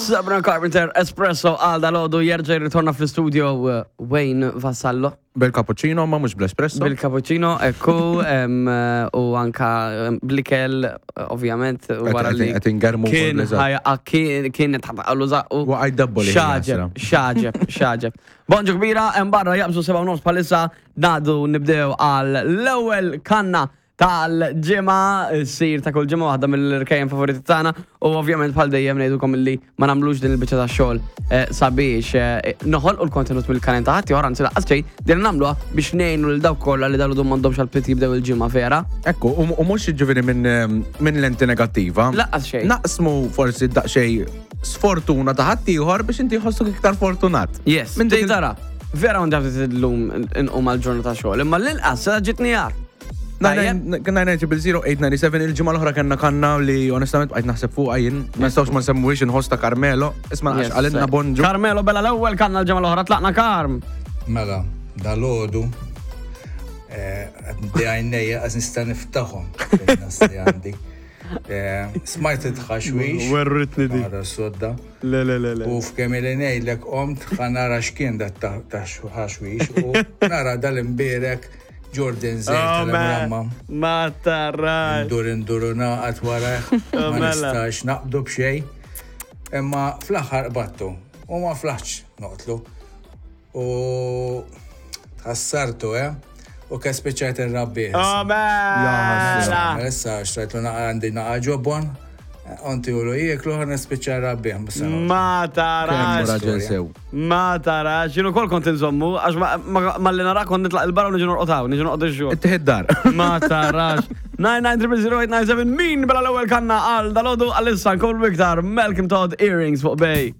Sabrina Carpenter Espresso għal dalodu jerġa' jirritorna fl-istudio eh, Wayne Vassallo. Bil-cappuccino ma mhux bl-espresso. Bil-cappuccino, ekku, eh, u anka blikel, eh, ovvjament, wara li. Qed ingermu Kien ħajqa kien kien tħabqalu zaqqu. Waqaj dabboli. Xaġeb, xaġeb, xaġeb. Bonġu kbira, hemm barra jaqbżu 7 nofs bħalissa ngħaddu nibdew għal l-ewwel kanna tal-ġimgħa, ssir ta' kull ġimgħa waħda mill-irkejjen favoriti tagħna u ovvjament bħal dejjem ngħidulkom illi ma nagħmlux din il-biċċa ta' xogħol eh, sabiex eh, noħolqu l-kontenut mill-kanen ta' ħadd ieħor anzi laqqas xejn din nagħmluha biex ngħinu lil dawk kollha li dalu m'għandhomx għal jibdew il-ġimgħa vera. Ekku, u mhux jiġifieri minn eh, min lenti negattiva. Laqqas xejn. Naqsmu forsi daqsxejn sfortuna ta' ħadd ieħor biex inti jħossok iktar fortunat. Yes, minn dik tara. Vera għandi ħafna illum inqum għal ġurnata xogħol, imma l-inqas ġitni għar. 990 il-ġimgħa l-oħra kellna kanna li onestament bqajt naħseb fuqha jien, ma nistgħux ma nsemmuhiex inħoss ta' Carmelo, isma' għax qalilna bonġu. Carmelo bella l-ewwel kanna l-ġimgħa l-oħra tlaqna Karm. Mela, dal-għodu eh, għandi għajnejja għaz nista' niftaħhom li għandi. Eh, smajt it-ħaxwix. Werritni di. Għara sodda. Le, le, le, le. U f'kemm li ngħidlek qomt ħanara x'kien dat ta' ħaxwix u nara dal-imbierek Jordan Zejt Oh, tal-Imramma. Ma tarax. Ndur indur u naqat warajh. Oh, Ma mela. nistax naqbdu b'xejn. Imma fl-aħħar qbattu u ma flaħx noqtlu. U tħassartu, eh? U ke spiċċajt irrabbih. Oh, mela. Issa xtrajtlu naqa għandi naqa ġobon, onti u jieklu ħan nispiċċa rabbih. Ma tarax. Raġel sew. Ma tarax. Jien ukoll kont inżommu, għax ma li nara kont nitlaq il-barra u niġi norqod hawn, niġi norqod ix-xogħol. Ittieħed dar. Ma tarax. 9900897 min bela l-ewwel kanna għal dalodu għal-issa nkomplu iktar Malcolm Todd Earrings fuq Bay.